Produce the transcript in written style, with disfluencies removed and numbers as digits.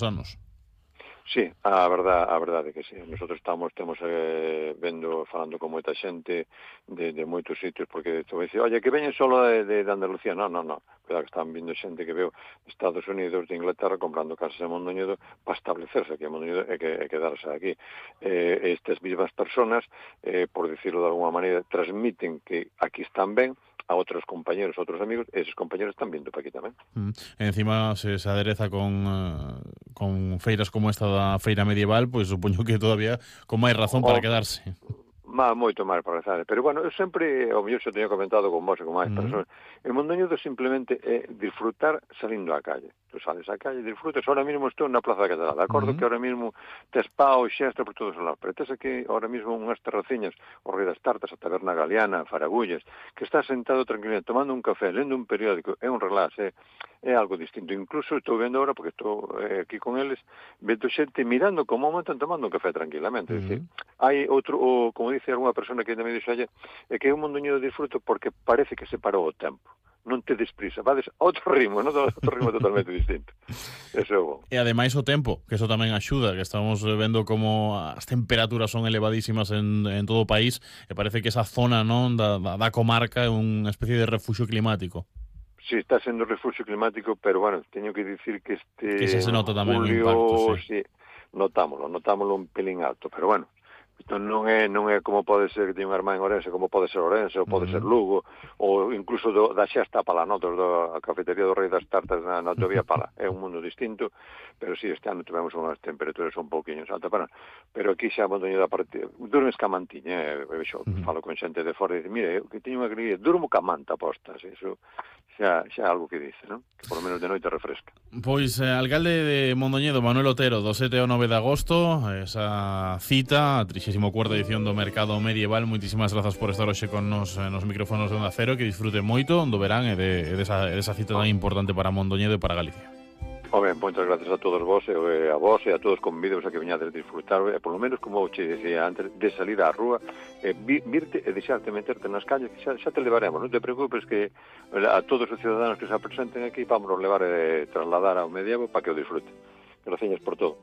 anos. Sí, a verdade que sí. Nosotros temos falando con moita xente de moitos sitios, porque tu dice, oye, que veñen solo de Andalucía. No. Cuidado que están vindo xente que veo de Estados Unidos, de Inglaterra, comprando casas en Mondoñedo para establecerse aquí en Mondoñedo e quedarse aquí. Estas mismas personas, por decirlo de alguna maneira, transmiten que aquí están ben a outros compañeros, outros amigos, e esos compañeros están vindo para aquí tamén. Encima se adereza con feiras como esta da Feira Medieval, pois supoño que todavía con máis razón para quedarse. Moito máis para rezar. Pero, bueno, eu sempre, ao mellor xa teño comentado con vos e con máis persoas, en Mondoñedo simplemente é disfrutar salindo á calle. Tu sales á calle, disfrutas. Ahora mismo estou na Plaza da Catedral. Acordo que ahora mismo tes pau, xestas por todos os lados. Pero tes aquí, ahora mismo, unhas terraciñas, o Rei das Tartas, a Taberna Galeana, Faragullas, que estás sentado tranquilamente, tomando un café, lendo un periódico, é un relax, é algo distinto. Incluso estou vendo ahora, porque estou aquí con eles, vendo xente mirando como están tomando un café tranquilamente. É dicir, hai outro, como dice algunha persona que ainda me dixo ayer, é que é un Mondoñedo de disfruto porque parece que se parou o tempo. Non te desprisa, vades a outro ritmo, non? Outro ritmo totalmente distinto. Eso é bom. E ademais o tempo, que eso tamén axuda, que estamos vendo como as temperaturas son elevadísimas en todo o país, e parece que esa zona, non, da comarca é unha especie de refuxio climático. Sí, está sendo refugio climático, pero, bueno, teño que dicir que Que xa se en nota tamén o impacto, julio, sí. sí, notámoslo un pelín alto, pero, bueno, isto non é como pode ser que teña unha irmá en Ourense, como pode ser Ourense, ou pode ser Lugo, ou incluso da Xesta Pala, da cafetería do Rei das Tartas na Autovía Pala. É un mundo distinto, pero sí, este ano tivemos unhas temperaturas un pouquiño altas, pero aquí xa Mondoñedo da parte, durmes ca mantiña, falo con xente de fora e dice, mire, eu que teño unha alegría, durmo ca manta postas, eso xa é algo que dice, non? Que por lo menos de noite refresca. Pois, alcalde de Mondoñedo, Manuel Otero, do 7 ao 9 de agosto, esa cita, a 34ª edición do Mercado Medieval. Moitísimas grazas por estar hoxe con nos micrófonos de Onda Cero, que disfrute moito do verán e desa cita tan importante para Mondoñedo e para Galicia. Ben, moitas gracias a todos vos, a vos e a todos convidados a que veñades a disfrutar, por lo menos, como che decía antes, de salir á rúa, virte e deixarte meterte nas calles, que xa te levaremos, non te preocupes, que a todos os ciudadanos que se presenten aquí vamos levar e trasladar ao medievo para que o disfruten. Gracias por todo.